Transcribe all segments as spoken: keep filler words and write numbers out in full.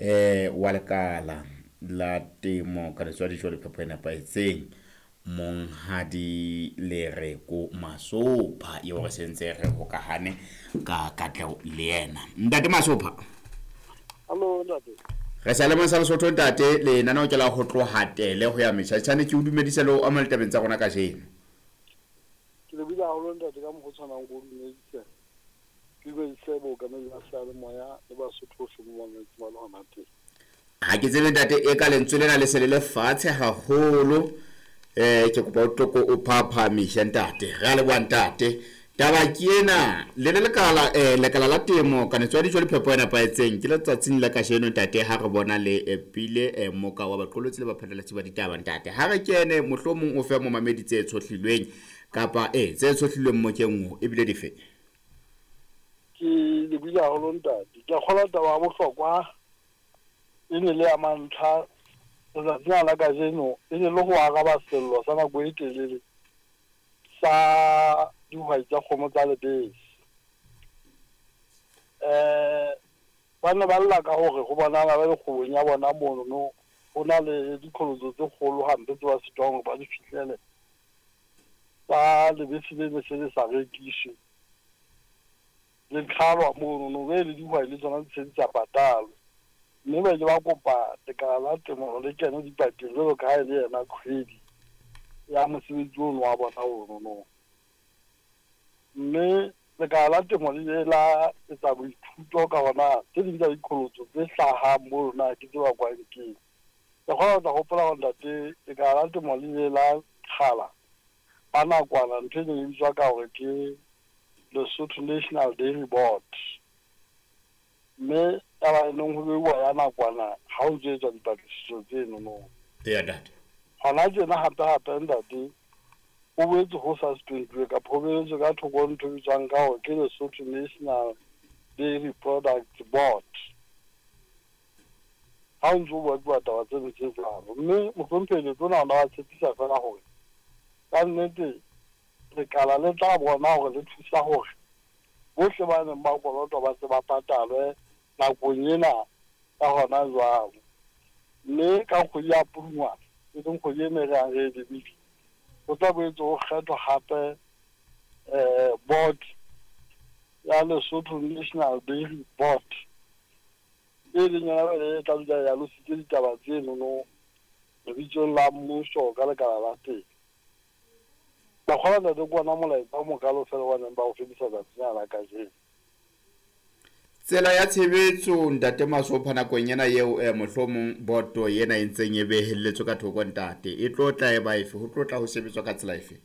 eh wa lekala la temo ka letswa dijo le phepo e nepahetseng, Monghadi Lereko Masopha, eo re sentse re hokahane ka katleho le yena. Ntate Masopha. Hallo ntate. Re sa le sa Lesotho ntate, lenaneo ke la ho tloha tele ho ya metjhatjhane. Ke o dumedise le o amohele tabeng tsa rona kajeno. Ke lebile haholo ntate ka mokgwa o tshwanang ko dumedise. Ke dumedise bookamedi ba seyalemoya le Basotho bohle mo mametseng ba le hona teng. Ha ke tsebe ntate, e ka lentswe lena le se le le fatshe haholo. Eh ke kopa o tloko o phaphamise ntate. Re a leboha ntate. Taba ke ena, le le lekala eh lekala la temo kanetso ya dijo le phepo e nepahetseng ke letsatsing la kajeno ntate ha re bona le epile eh, moka wa baqolotsi le baphatlalatsi ba ditaba ntate. Ha re kene mohlomong o fe momamedi tse tshohlilweng kapa eh tse tshohlilweng mokeng o ebile dife. Ke lebile haholo ntate. Ke a kgolwa taba ya bohlokwa e ne le ya mantlha letsatsing la kajeno, e ne le ho araba sello sa nako e telele sa dihwai tsa kgomo tsa lebese. Eh ba ne ba lla ka hore ho bonahala ba le kgwebong ya bona monono ho na le diqholotso tse kgolo hampe tse ba sitwang hore ba di fihlele tsa lebese le ne se le sa rekiswe, le qhalwa monono, be le dihwai le tsona di se di sa patalwe. Mme ba ile ba kopa lekala la temo hore le kene dipakeng jwalo ka ha e le yena kgwedi ya mosebetsi ono wa bona ono. Mme lekala la temo le ile la etsa boithuto ka hona tse ding tsa diqholotso tse hlahang mono na ke tse bakwang keng. Ke kgona ho tla hopola hore ntate lekala la temo le ile la qhala ka nakwana ntho e neng e bitswa ka hore ke Lesotho National Dairy Board. Mme taba e neng ho beuwa ya nakwana ha ho ntso etswa dipatlisiso tseno. Eya ntate. Hona tjena hape hape ntate ho boetse ho suspend-uwe kapa ho behetswe ka thoko ntho e bitswang ka hore ke Lesotho National Dairy Products Board. Ha ho ntso ho bua taba tseno tse jwalo. Mme mohlomphehi Letona ona wa tshepisa feela hore ka nnete lekala le tla bona hore le thusa hore bohle ba neng ba kolotwa ba tse ba patalwe nakong ena ka hona jwalo. Mme ka kgwedi ya Pudungwana, e leng kgwedi ena e re yang re e lebile, ho tla boetse ho kgethwa hape eh board ya Lesotho National Dairy Board, e leng yona jwale e tla dula e alositse ditaba tsenono lebitsong la mmuso ka lekala la teng. Ka kgolwa ntate ke ona molaetsa o mokalo feela wa neng ba o fetisa tsatsing la kajeno. Tsela ya tshebetso ntate Masopha nakong ena eo eh, mohlomong boto ena e ntseng e behelletswe ka thoko ntate, e tlo tla e ba efe? Ho tlo tla ho sebetswa ka tsela efe?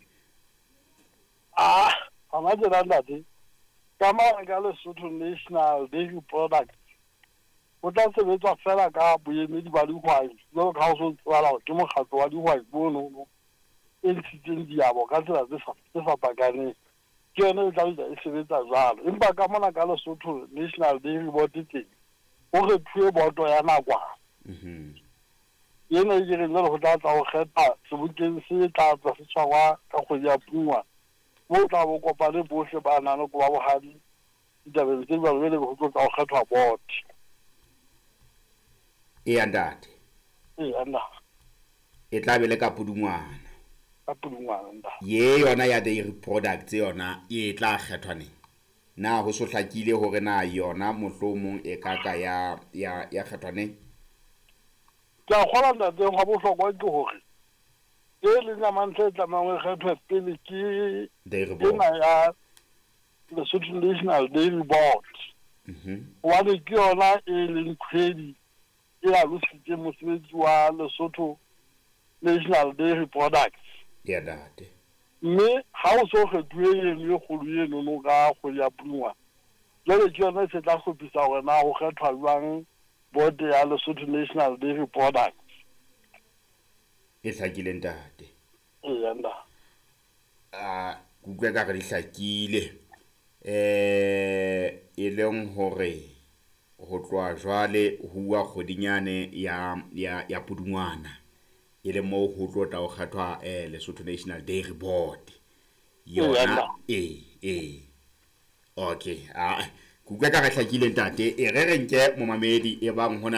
Ah, hona tjena ntate, ka mane ka Lesotho National Dairy Products ho tla sebetswa feela ka boemedi ba dihwai, jwalo ka ha ho so tsebahala hore ke mokgatlo wa dihwai monono e ntshitseng diabo ka tsela tse tse fapakaneng. Ke yona e tla dula e sebetsa jwalo. Empa ka mona ka Lesotho National Dairy Board teng ho kgethuwe boto ya nakwana. Mhm. Ena e ke reng jwale ho tla tla ho kgetha sebokeng se tla tla se tshwarwa ka kgwedi ya Pudungwana, moo tla bo kopane bohle ba nang le koba bohadi ditabeng tse jwalo, jwale ho tlo tla ho kgethwa board. Eya ntate. Eya ntate. E tla be le ka Pudungwana. Ka Pudungwana ntate. Ye yona ya dairy products yona e tla kgethwa neng? Na ho so hlakile hore na yona mohlomong e ka ka ya ya ya kgethwa neng? Ke a kgolwa ntate hwa bohlokwa ke hore e leng ya mantlha e tlamehang ho kgethwe pele ke Dairy Board. ena ya Lesotho National Dairy Board. Mhm. Hobane ke yona e leng kgwedi e alositseng mosebetsi wa Lesotho National Dairy Products. Ya ntate. Mme ha o so kgethuwe eno e kgolo enono ka kgwedi ya Pudungwana, jwale ke yona e se tla hlophisa hore na ho kgethwa jwang board ya Lesotho National Dairy Products. E hlakile ntate. Eya ntate. Ah, ke utlwa ekare di hlakile. Eh e leng hore ho tloha jwale ho uwa kgwedinyane ya ya ya Pudungwana, e le moo ho tlo tla ho kgethwa eh Lesotho National Dairy Board. Yona e e okay, ah ke utlwa ekare hlakile ntate. E re re nke momamedi e bang hona